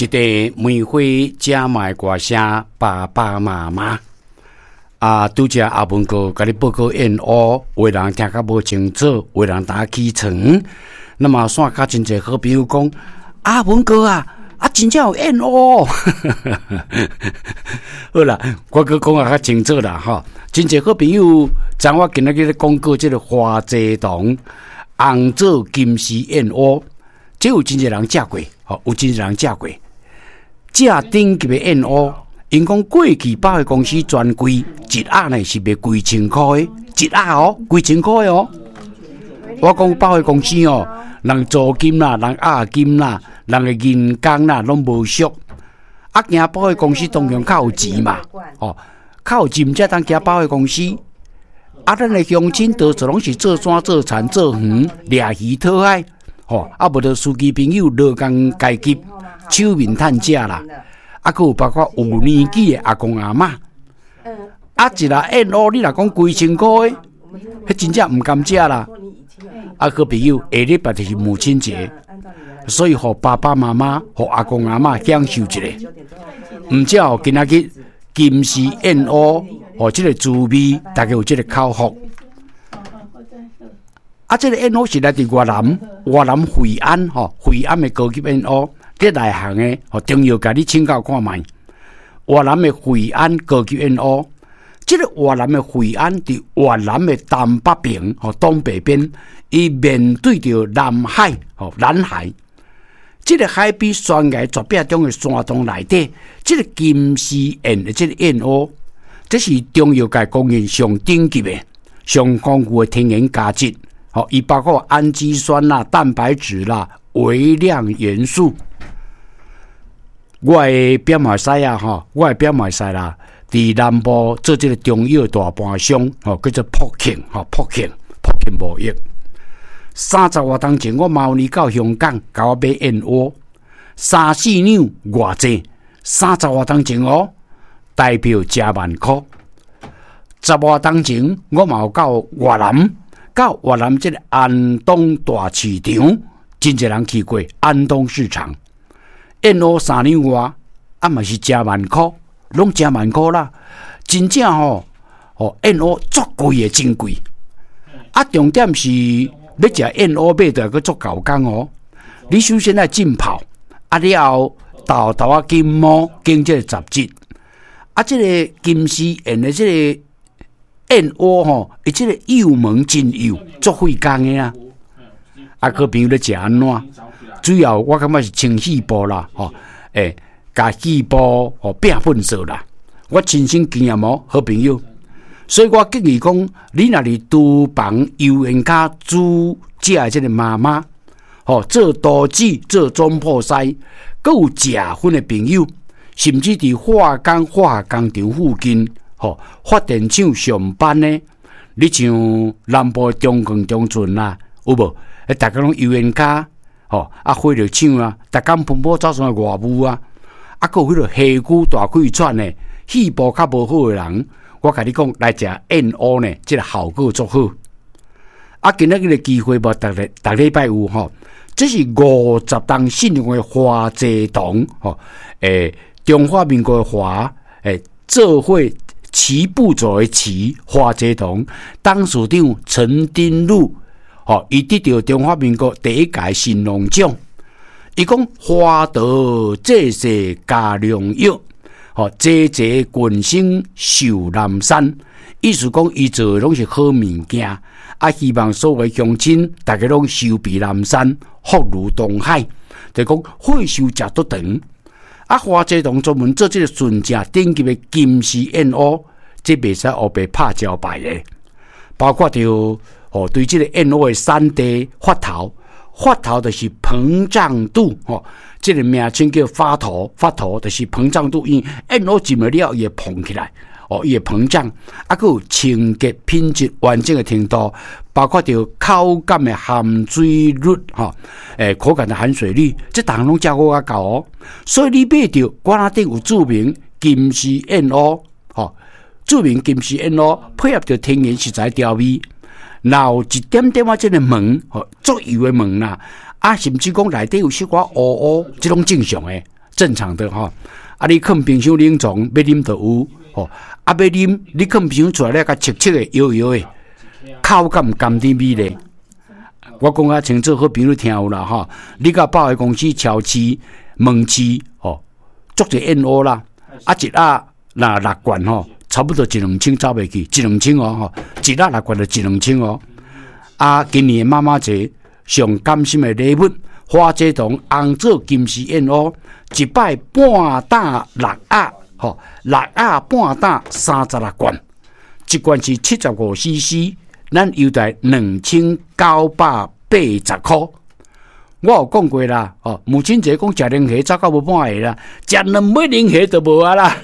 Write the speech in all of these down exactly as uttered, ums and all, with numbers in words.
一塊梅花遮賣歌聲，爸爸媽媽。啊，拄才阿文哥共你報告燕窩，有的人聽較無清楚，有的人打起床。那麼煞較真濟好朋友講，阿文哥啊，啊真正有燕窩。好啦，我閣講啊較清楚啦吼。真濟好朋友，知我今仔日咧廣告這个花濟堂紅棗金絲燕窩，這有真濟人食過，吼，有真濟人食過。這頂級的燕窩，𪜶講過去百貨公司專櫃一盒呢是賣幾千箍的，一盒哦，幾千箍的哦。我講百貨公司哦，人租金啦，人押金啦，人的人工啦，攏無俗。啊，行百貨公司當然較有錢嘛，哦，較有錢才當行百貨公司。啊，咱的鄉親多數攏是做山做田做園，掠魚討海，吼，啊，無就司機朋友勞工階級，手面趁食啦。啊，閣有包括有年紀的阿公阿嬤。啊，一粒燕窩你若講幾千箍的，彼真正毋甘食啦。啊，好朋友，下禮拜就是母親節，所以予爸爸媽媽、予阿公阿嬤享受一下。毋只哦，今仔日金絲燕窩，予這个滋味，大家有這个口福。啊，這个燕窩是來自越南，越南惠安吼，惠安的高級燕窩，這內行的吼，中藥界你請教看覓。越南的惠安高級燕窩，這个越南的惠安佇越南的東北邊，吼，東北邊，伊面對著南海，吼，南海。這个海邊懸崖絕壁中的山洞內底，這个金絲燕的這个燕窩，這是中藥界公認上頂級的、上豐富的天然佳質。吼，伊包括氨基酸啦、蛋白質啦、微量元素。我的表妹婿啊，吼，我的表妹婿啦，佇南部做這个中藥大盤商，吼，叫做朴慶，吼，朴慶，朴慶貿易。三十外冬前，我某年到香港，共我買燕窩，三四兩偌濟，三十外冬前哦，台票誠萬箍。十外冬前，我嘛有到越南，到越南這个安東大市場，真濟人去過安東市場，燕窩三兩外，啊嘛是誠萬箍，攏誠萬箍啦。真正吼，吼燕窩足貴的，真貴。啊，重點是欲食燕窩買著閣足猴工哦。你首先愛浸泡，啊了後豆豆仔金毛經這个雜質，啊，這个金絲燕的這个燕窩吼，伊這个幼毛真幼，足費工的啊。啊，閣朋友咧食按怎？主要我感覺是清肺部啦，吼，欸，共肺部吼變糞掃啦。我親身經驗哦，好朋友。所以我建議講，你若佇廚房油煙跤煮食的這个媽媽，吼，做刀子、做總鋪師，閣有食薰的朋友，甚至佇化工化學工廠附近，吼，發電廠上班的，你像南部中鋼中船啦，有無？欸，逐家攏油煙跤，吼，啊，火力廠啊，逐工噴火走上來外霧啊，啊，閣有彼个氣區大氣喘的，肺部較無好的人，我共你講，來食燕窩呢，這个效果足好。啊，今仔日个機會無，逐日逐禮拜有吼，這是五十冬信用的華濟堂吼，欸，中華民國的華，欸，做伙齊步走的齊，華濟堂董事長陳丁祿，吼，伊得著中華民國第一屆神農獎。伊講華佗濟世加良藥，吼，濟濟群生壽南山，意思講伊做的攏是好物件，啊，希望所有鄉親逐家攏壽比南山，福如東海，就講歲壽食足長。啊，華濟堂專門做這个純正頂級的金絲燕窩，這袂使烏白拍招牌的，包括著吼對這个燕窩的產地發頭，發頭就是膨脹度吼，這个名稱叫發頭，發頭就是膨脹度，因為燕窩浸了了，伊會膨起來，哦，伊會膨脹，啊，閣有清潔品質完整的程度，包括著口感的含水率，吼，欸，口感的含水率，這逐項攏照顧較夠哦。所以你買著館仔頂有註明金絲燕窩，吼，註明金絲燕窩配合著天然食材調味，若有一點點仔這个毛，吼，足油的毛啦，啊，甚至講內底有小可烏烏，這攏正常的，正常的吼。啊，你囥冰箱冷藏，欲啉就有吼。啊，欲啉，你囥冰箱出來了，較沏沏的、搖搖的，口感甘甜美麗。我講較清楚，好朋友聽有啦吼。你共百貨公司、超市、門市吼，足濟燕窩啦，啊一盒若六罐吼，差不多一兩千走袂去，一兩千哦吼，一盒六罐就一兩千哦。啊，今年媽媽節上感心的禮物，花姐堂紅棗金絲燕窩，一擺半擔六盒，吼，六盒半擔三十六罐，一罐是七十五 C C，咱優待兩千九百八十箍。我有講過啦，哦，母親節講食龍蝦走到無半個啦，食兩尾龍蝦就無啊啦。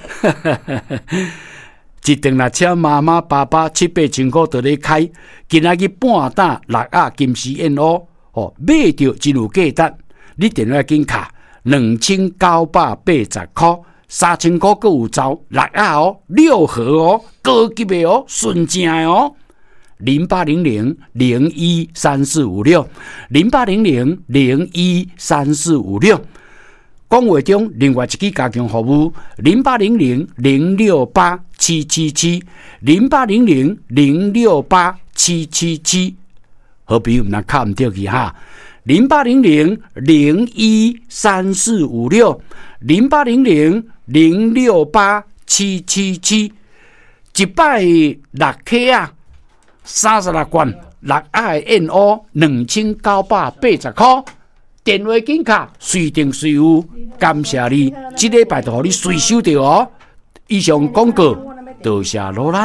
一頓若請媽媽爸爸七八千箍就咧開，今仔日半擔六盒金絲燕窩，哦，買著真有價值。你電話緊敲兩千九百八十箍，三千箍閣有走六盒哦，六盒哦，高級的哦，純正的哦。零八零零零一三四五六，零八零零零一三四五六。講話中另外一支加強服務，零八零零零六八七七七，零八零零零六八七七七。好朋友毋通敲毋著去哈，零八零零零一三四五六，零八零零零六八七七七，一擺六克啊！三十六罐六盒燕窩兩千九百八十箍，電話緊敲，隨訂隨有，感謝你，這禮拜就予你隨收著哦。以上廣告，多謝努力。